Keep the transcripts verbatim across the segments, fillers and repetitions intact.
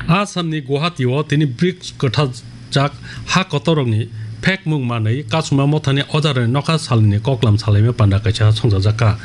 Assamni Guwahati-o tini brics kwthajak ha kotorrokni phekmung manwi Kasuma Mothani ojarokni nokha salni koklam salaima panda kaisa songchajakha.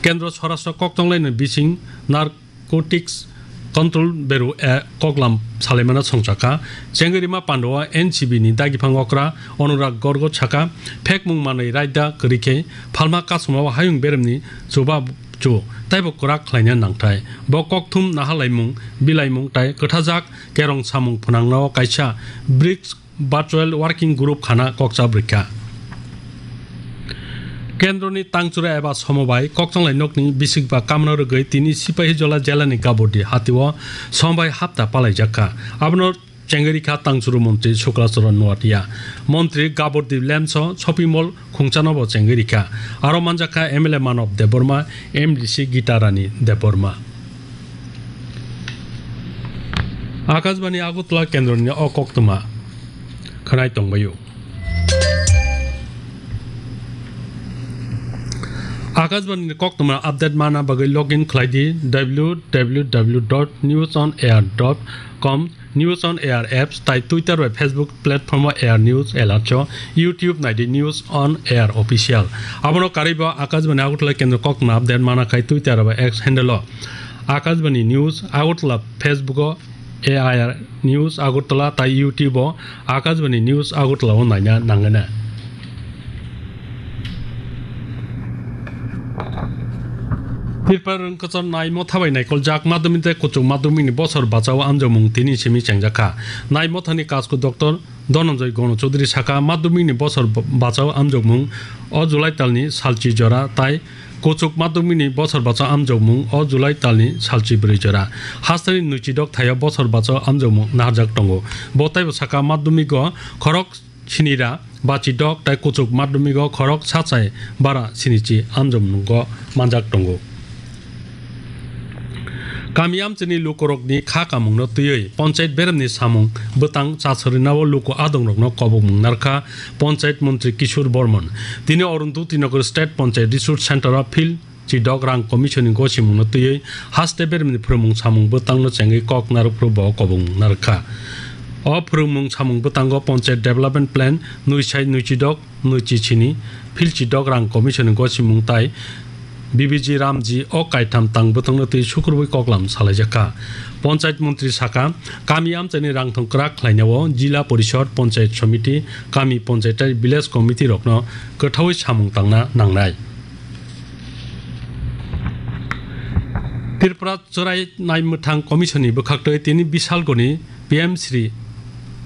Kendro Swarashtra Kokchonglai ni bising Narcotics Control Bureau a koklam salaimano songchakha. Chengwi rima pandao N C B ni dagiphang okra Anurag Gorgo sakha, phekmung manwi raida kwrwi khe phalma Kasuma o hayung beremni chuba chu taibo kwrak khlaina nangthai. Bo kokthum nahalaimung, bilaimung tai kwthajak kerong samung phwnangno kaisa brics Virtual Working Group khana kokcha brikha. Kendroni tangchura eba somobai kokchanglai nokni bisikba kamno rwgwi tini Sipahijola jelani Gabordi hatio somobai hapta palaijakha. Abono chengwi rikha tangchuru montri Sukla Charan Noatia. Montri Gabordi Lemso shopping mall khungchanobo chengwi rikha. Aro manjakha M L A Manob Debbarma, M D C Gita Rani Debbarma. Akashbani Agartala kendroni o koktwma khwnai tongbaio. Akashbani koktwma update mana bagwi login khlai di W W W dot news on air dot com, News on Air apps, tai Twitter bai Facebook platform o Air News Alert cho, YouTube nai di News on Air Official. Abono karwi bo Akashbani Agartala kendro koktwma update mana khai Twitter bai X handle o Akashbani News Agartala, Facebook o A I R News Agartala tai YouTube o Akashbani News Agartala o naina nangana. Tripura rwngkwchar nai motha bai naikoljak madhyamik tei kuchuk madhyamik ni bosor bachao amjokmung tini simi chengjakha. Nai mothani kasku Doctor Dhananjay Gano Chaudhary sakha, madhyamik ni bosor b-, bachao amjokmung o July talni salchi jora tai kuchuk madhyamik ni bosor bachao amjokmung o July talni salchi bwrwi jora. Hasteni nwichidok thaio bosor bachao amjokmung naharjak tongo. Bo taibo sakha, madhyamik o khorok sinira bachidok tai kuchuk madhyamik o khorok sachai bara sinichi amjokmungo manjak tongo. Kami amchaini lukurokni kha kamungno twiwi ponchayat beremni samung bwtang chasarina o luku adongrokno kobokmung narkha ponchayat montri Kishore Bormon. Tini Arundhati Nagar State Ponchayat Resource Center o field chidok rang commission ni gosimungno twiwi haste beremni phrwngmung samung bwtangno chengwi kok narwkphru bo kobokmung narwkha. O phrwngmung samung bwtango Ponchayat Development Plan nwi sai nwi chidok nwi chi chini, field chidok rang commission ni gosimung tai B B G Ramji o kaitham tang bwtangno twi sukurwi koklam salaijakha. Ponchayat montri sakha, kami amchaini rangthong kwrak khlainao Jila Porishod, Ponchayat Somiti, kami ponchayat, village committee rokno kwthawi samung tangna nangnai. Tripura Chwrai Naimwthang Commission ni bwkhaktwi tini Bisalgoni P M Shri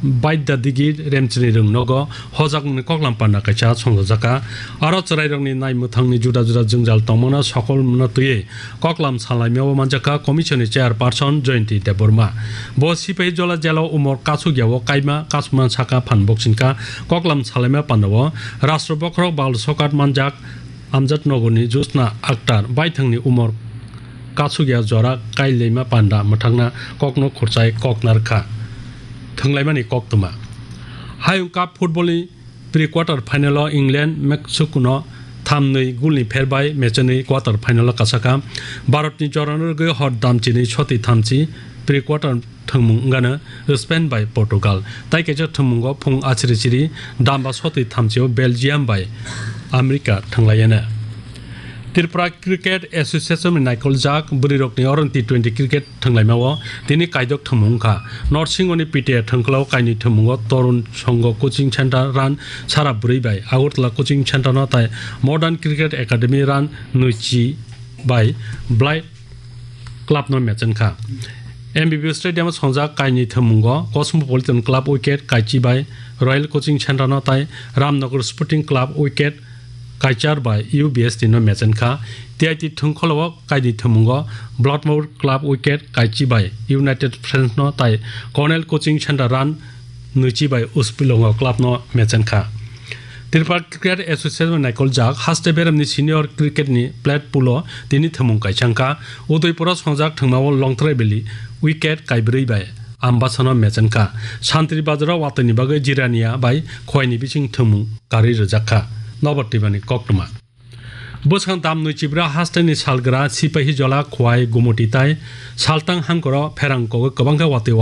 Baidya Digi Remchini rwng nogo hojakmungni koklam panda kaisa songchajakha. Aro chwrairokni naimwthangni juda juda jwngjal tongmano sokolno twiwi koklam salaimao manjakha Commission ni Chairperson Jayanti Debbarma. Bo Sipahijola jela umor kasukya o kaima kasukma saka phan boksingkha. Koklam salaima pandao Rashtra Bokhorok Bal Sokat manjak Amjad Nogorni Jyotsna Akhtar baithangni umor kasukya jora kailaima panda mwthangna kokno khurchai kok narwkha. Thwnglaimani koktwma. Hayung Cup football ni pre-quarter final o England Mexico no thamnwi goal ni pher bai mechenwi quarter final o kasakha. Bharat ni jorano rwgwi hor damchinwi soti thamchi pre-quarter thwngmung wngano Spain bai Portugal. Tai kaisa thwngmungo phung achiri chiri damba soti thamchio Belgium bai America thwnglaiyana. Tripura Cricket Association ni naikoljak bwrwirokni oron T twenty cricket thwnglaimao tini kaidok thwngmung wngkha. North Singoni P T A thwngkhwlao kainwi thwngmungo Torun Songho Coaching Center run sara bwrwi bai Agartala Coaching Center no tai Modern Cricket Academy run nwichi bai Blight Club no mechenkha. M B B Stadium o songjak kainwi thwngmungo Cosmopolitan Club wicket kaichi bai Royal Coaching Center no tai Ramnagar Sporting Club wicket kaichar bai U B S T no mechenkha. T I T thwngkhwlao kainwi thwngmungo Bloodmore Club wicket kaichi bai United Friends no tai Cornell Coaching Center run nwichi bai Uspilongo club no mechenkha. Tripura Cricket Association naikoljak haste beremni senior cricket ni plate pool o tini thwngmung kaisa wngkha. Udaipur o songjak thwngmao Longtrai Valley wicket kaibrwi bai Ambasano mechenkha. Santri Bazar o watwi ni bagwi Jirania bai Khowai ni bising thwngmung karwi rwjakha. Nobar Tripura ni koktwma. Bwskang dam nwi chibra hasteni salgra Sipahijola, Khowai, Gumoti tai Saltang hangkoro pherang kogwi kwbangkha watwi